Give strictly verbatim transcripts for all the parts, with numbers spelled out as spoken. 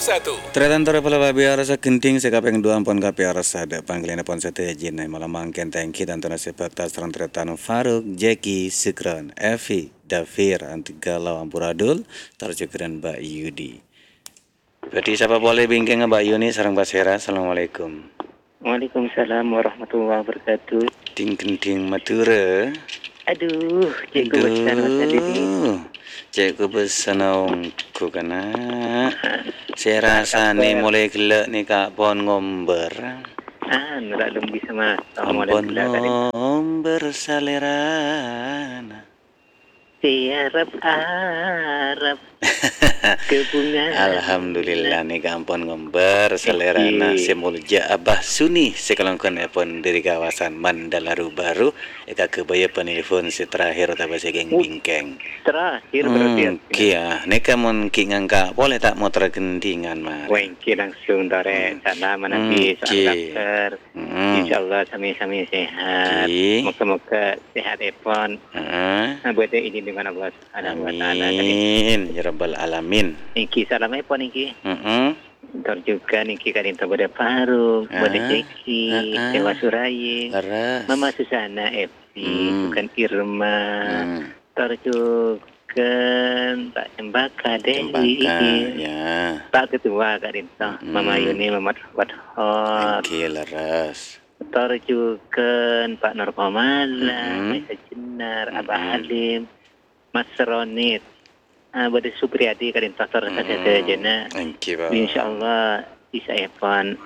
Satu. Tarètan torè polè pabiyarsa, gendhing sè kapèng duwâ' ampon kapiyarsa, dâ' pangghâliyânna pon sadhâjâna. Malem mangkèn ta' ènggi tantona sè bhâkta sareng tarètan Faruk, Jeki, Sukron, Evi, Dafir, Antigala, amburadul, tor jhughân Mbak Yudi. Bhâdhi sapa polè bingkèngnga Mbak Yuni sareng pasèra. Assalamualaikum. Waalaikumsalam warahmatullahi wabarakatuh. Ding-gending Madhurâ. Aduh, cè' kobâsana, Mas Adi, nè. Aduh, cè' kobâsana ongghu, kana'. Sè rasanè molaè ghellâ' nèka pon ngombâr. Anu, ta' lem bisa, Mas. Ampon ngombâr salèrana. Sè arep-arep. Alhamdulillah, nèka ampon ngombâr salèrana sè molja Abah Suni sè kalangkongèpon dâri kawasan Mandalaru Baru, èkaghâbâyâ panelpon sè terakhir otabâ sè kèng-bingkèng. Terakhir berarti ya? Hmm, kèya. Nèka mon ghi' ngangka' polè ta' motor gendhingan, Mar. Wah, ènggi langsung torè. Hmm. Salam manabi soal dokter. Mm-mm. Insyaallah sami-sami sehat. Ènggi. Moga-moga sehatèpon. Heeh. Nah, bâdâ izin dengan Allah Subhanahu wa Ta'ala tadi. Amin, ya rabbal alamin. Ènggi salamèpon ènggi. Mm-mm. Tor jhughân ènggi ka'dinto bâdâ Faruk, bâdâ Jeki, heeh. Dewa Suraying, leres. Mama Susana, Evi, hmm. Jhughân Irma, hmm. Tor jhughân Pak Cempaka, Dewi. Cempaka, ya. Pak Ketua ka'dinto, mm-mm. Mama Yuni, Mama Wathor. Ènggi leres. Tor jhughân Pak Nur Komala, mm-mm. Maisa Jenar, Abah, mm-mm. Halim, Mas Ronit. Ah, bâdâ Supriyadi ka'dinto tor, mm-mm. Sadhâjâna. Ènggi, Pak. Insyaallah, bisaèpon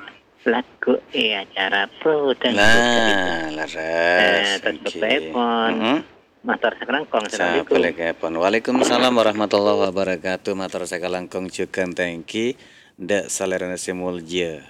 lagghu' è acara Pro Dangdut ka'dinto. Nah, leres. Eh, tor ènggi. Bapa'èpon. Mm-mm. Mator sakalangkong, assalamualaikum. Sakalangkong. Waalaikumsalam warahmatullahi wabarakatuh. Mator sakalangkong jhughân tènggi dâ' salèrana sè molja.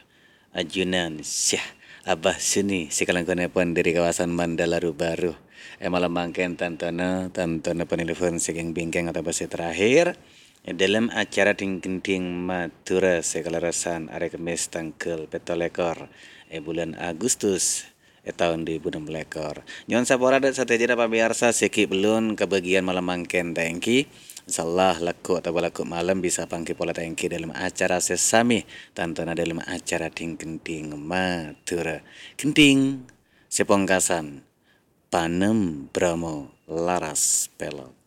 Ajunan Syekh Abah Suni sè kalangkongèpon dâri kawasan Mandalaru Baru. È malem mangkèn tantona, tantona panelpon sè kèng-bingkèng otabâ sè terakhir. È dâlem acara Ding-gending Madhurâ sè kalerressan arè Kemmès tangghâl pètto lèkor è bulân Agustus è taon duwâ èbu ennem lèkor. Nyo'on sapora dâ' sadhâjâna pamèyarsa sè ghi' bellun kabâgiyân malem mangkèn tènggi. Insyaallah lagghu' otabâ lagghu' malem bisa pangghi polè tènggi dâlem acara sè samè, tantona dâlem acara Ding-gending Madhurâ. Gendhing sè pongkasan, Panem Bromo Laras Pèlok.